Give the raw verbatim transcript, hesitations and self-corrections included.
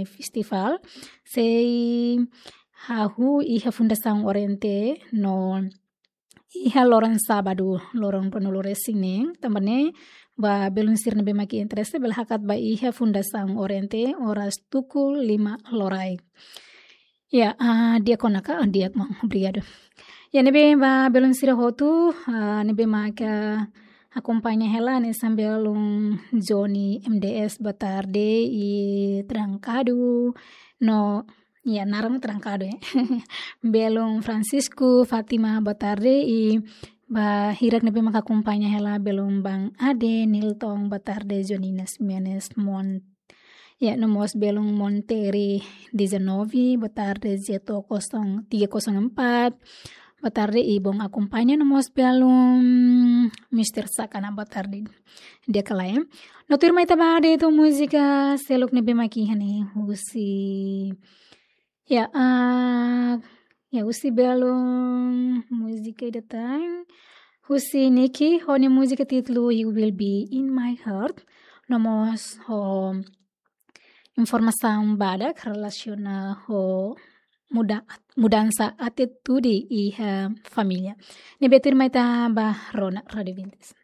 festival sei hahú iha Fundasaun Oriente no iha loron sábadu, loron ruanulu-resin-neen, tanba ne'e ba belun sira ne'ebé mak interese bele hakat ba iha Fundasaun Oriente oras tuku lima loraik. Ya, ah, di'ak ona ka? Ah, di'ak, maun. Obrigadu. Ya, ne'ebé ba belun sira hotu, ah, ne'ebé mak akompaña hela, hanesan belun Johnny M D S, boa tarde, i Trancado, no, ya, naran Trancado, ya. Belun Francisco, Fátima, boa tarde, i ba hirak ne'ebé mak akompaña hela, belun Bang Ade, Nilton, boa tarde, Johnny Nasmianes, Mon Ya, no mós belun Monteri dezanove, boa tarde, Zeto kosong, tiga kosong empat. Boa tarde, i bom akompaña, no mós belun Mister Sakana, boa tarde. Di'ak ka lae. No tuirmai ita ba de'it ho múzika seluk ne'ebé mak iha ne'e, husi. Ya, ah, ya, husi belun múzika ida tan. Husi Niki, ho nia múzika títulu You Will Be In My Heart. No mós ho informasaun badak relasiona ho muda-, mudansa atitude iha família. Ne'ebé tuirmai ita ba rona Rádio Vintes.